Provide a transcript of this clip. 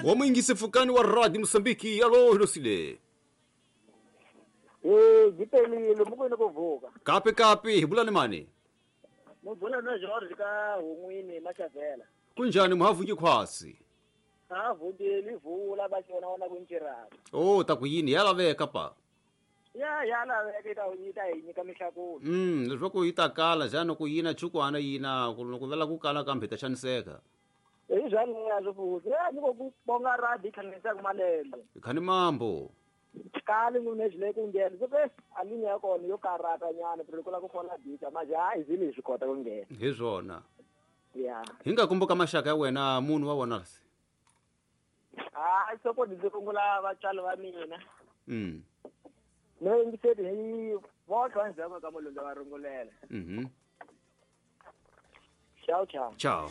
Wa muyingisi pfukani wa Radio Mosambiki, alo hilosile. Eh, gipelile mukwini ku vuka. Kapi kapi, hi bula ni mani? Mubula na George ka Hungwini Machavela. Kunjani muhavuki khwasi? Ha vukeli vula ba xona wona ku ncirana. Oh, ta ku yini ya laveka pa. Ya ya laveka yi ta yi ta hi nyika mihlakulo. Leswaku yi ta kala xana ku yina chukwana yina ku loko vela ku kala kambe ta xaniseka. Hi swaleswo futhi. Ya nyiko ku bonga radi hlanganisaka malembe. Khani mambo. Kali n'wini le ku nghena. Se ke a linya ya kona yo karata nyana pero loko la ku fola dita manje hayi zile hi swi kota ku nghena. Hi swona. Ya. Hi nga kumbuka maxaka ya wena munhu wa wona se. Hayi soko ndzi rungula vatswari va mina. No yingiseli hi votlwa ndzhaku ka mulungu va rungulela. Ciao ciao. Ciao.